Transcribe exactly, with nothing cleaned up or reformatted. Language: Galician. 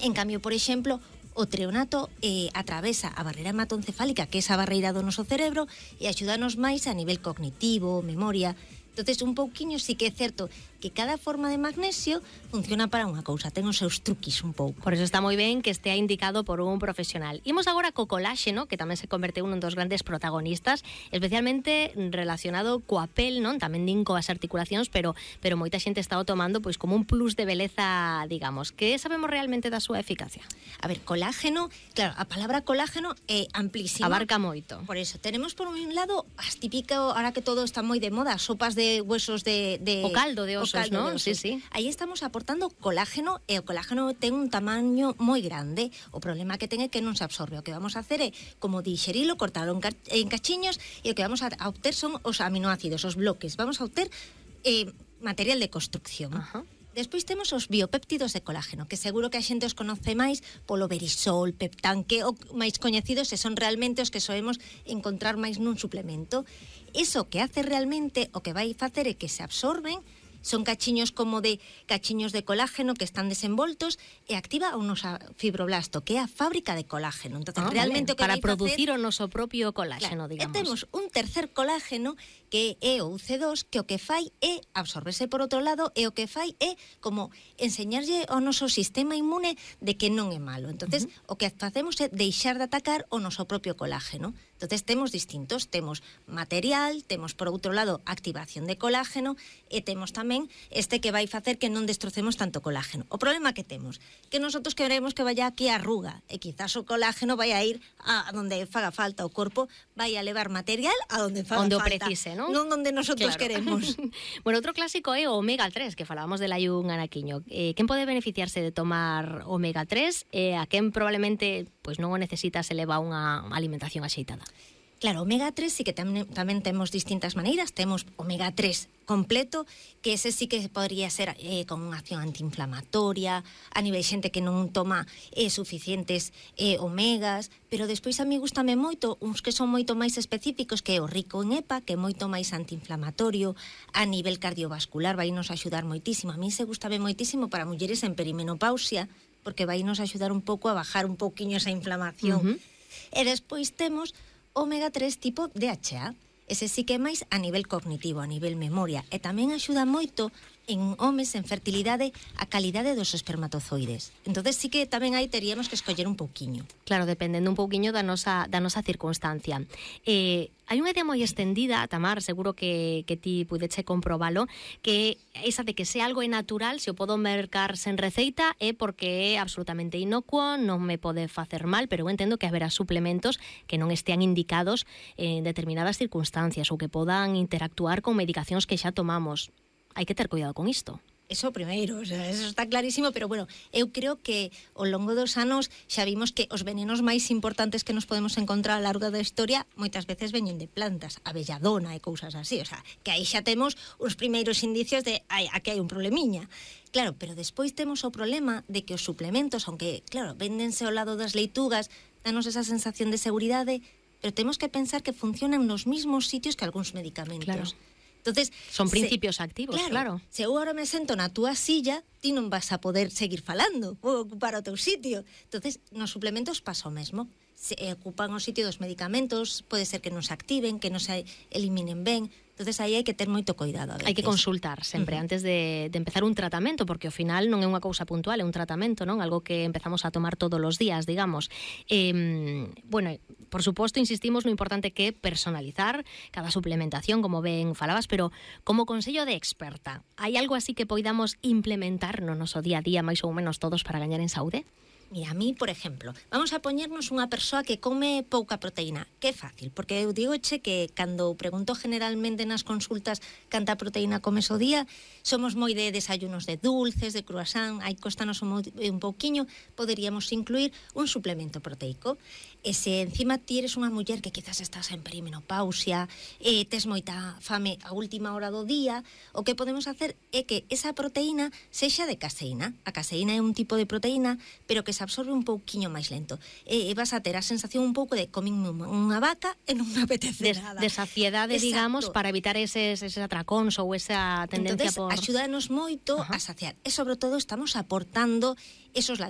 En cambio, por exemplo, o treonato eh, atravesa a barreira hematoencefálica, que é esa barreira do noso cerebro, e axúdanos máis a nivel cognitivo, memoria. Entonces, un pouquiño sí que é certo que cada forma de magnesio funciona para unha cousa, ten os seus truquis un pouco. Por eso está moi ben que estea indicado por un profesional. Imos agora co coláxeno, que tamén se converteu nun dos grandes protagonistas, especialmente relacionado coa pel, non? Tamén din coas articulacións, pero pero moita xente está o tomando pois como un plus de beleza, digamos. Que sabemos realmente da súa eficacia? A ver, colágeno, claro, a palabra colágeno é amplísima. Abarca moito. Por eso, tenemos por un lado as típico, ahora que todo está moi de moda, sopas de huesos de... de o caldo de osos, ¿no? Sí, sí. Aí estamos aportando colágeno, e o colágeno ten un tamaño moi grande. O problema que ten é que non se absorbe. O que vamos a hacer é, como dixerilo, cortalo en, en cachiños, e o que vamos a, a obter son os aminoácidos, os bloques. Vamos a obter eh, material de construcción. Ajá. Despois temos os biopéptidos de colágeno, que seguro que a xente os conoce máis polo Verisol, Peptan, que o máis coñecidos e son realmente os que soemos encontrar máis nun suplemento. Iso que hace realmente, o que vai facer é que se absorben, son cachiños como de cachiños de colágeno que están desenvoltos e activa o noso fibroblasto, que é a fábrica de colágeno. Entonces, ah, realmente vale. o que para producir facer, o noso propio colágeno, claro, digamos. E temos un tercer colágeno que é o U C dos, que o que fai é absorberse por outro lado, e o que fai é como enseñarlle ao noso sistema inmune de que non é malo. Entonces, uh-huh. o que facemos é deixar de atacar o noso propio colágeno. Entonces, temos distintos, temos material, temos por outro lado activación de colágeno, e temos tamén este que vai facer que non destrocemos tanto colágeno. O problema que temos, que nosotros queremos que vaya aquí a arruga, e quizás o colágeno vai a ir a donde faga falta, o corpo vai a levar material a donde faga onde falta. Onde o precise, non? Non donde nosotros claro. queremos. Bueno, outro clásico é o omega tres, que falábamos del hai un anaquiño. Eh, quen pode beneficiarse de tomar omega tres e a quen probablemente pois non o necesita se leva unha alimentación axeitada? Claro, omega tres sí que tamén, tamén temos distintas maneiras. Temos omega tres completo, que ese sí que podría ser eh, con unha acción antiinflamatoria, a nivel xente que non toma eh, suficientes eh, omegas, pero despois a mí gustame moito uns que son moito máis específicos, que é o rico en E P A, que é moito máis antiinflamatorio, a nivel cardiovascular vai nos axudar moitísimo. A mí se gustame moitísimo para mulleres en perimenopausia, porque vai nos axudar un pouco a bajar un pouquiño esa inflamación. Uh-huh. E despois temos omega tres tipo D H A. Ese sí que é máis a nivel cognitivo, a nivel memoria, e tamén axuda moito en homes en fertilidade a calidade dos espermatozoides. Entonces sí que tamén aí teríamos que escoller un pouquiño. Claro, dependendo un pouquiño da nosa, da nosa circunstancia. Eh, hai unha idea moi extendida, Tamar, seguro que, que ti pudeche comprobalo, que esa de que se algo é natural, se o podo mercar sen receita, é porque é absolutamente inocuo, non me pode facer mal, pero eu entendo que haberá suplementos que non estean indicados en determinadas circunstancias ou que podan interactuar con medicacións que xa tomamos. Hai que ter cuidado con isto. Eso primeiro, o sea, eso está clarísimo, pero bueno, eu creo que ao longo dos anos xa vimos que os venenos máis importantes que nos podemos encontrar a lo largo da historia moitas veces veñen de plantas, a belladona e cousas así, o sea, que aí xa temos os primeiros indicios de ai, aquí hai un problemiña. Claro, pero despois temos o problema de que os suplementos, aunque, claro, véndense ao lado das leitugas, danos esa sensación de seguridade, pero temos que pensar que funcionan nos mismos sitios que algúns medicamentos. Claro. Entonces, son principios se, activos, claro, claro. Se eu agora me sento na túa silla, ti non vas a poder seguir falando, vou ocupar o teu sitio. Entonces, nos suplementos pasa o mesmo. Se ocupan o sitio dos medicamentos, pode ser que non se activen, que non se eliminen ben. Entonces, aí hai que ter moito cuidado. Hai que consultar sempre uh-huh. antes de, de empezar un tratamento, porque ao final non é unha cousa puntual, é un tratamento, non? Algo que empezamos a tomar todos os días, digamos. Eh, bueno, por suposto, insistimos no importante que é personalizar cada suplementación, como ben falabas, pero como consello de experta, hai algo así que poidamos implementar no noso día a día, máis ou menos todos, para gañar en saúde? Mira, a mí, por exemplo, vamos a poñernos unha persoa que come pouca proteína, que é fácil, porque eu digo che que cando pregunto generalmente nas consultas canta proteína comes o día, somos moi de desayunos de dulces, de croissant, aí costanos un, un pouquiño, poderíamos incluir un suplemento proteico. E se encima ti eres unha muller que quizás estás en perimenopausia, e tes moita fame a última hora do día, o que podemos hacer é que esa proteína sexa de caseína. A caseína é un tipo de proteína, pero que se absorbe un pouquiño máis lento. E, e vas a ter a sensación un pouco de comín unha vaca e non me apetece de, nada. De saciedade, exacto, digamos, para evitar eses, eses atracóns ou esa tendencia. Entonces, por... axúdanos moito, ajá, a saciar. E sobre todo estamos aportando esos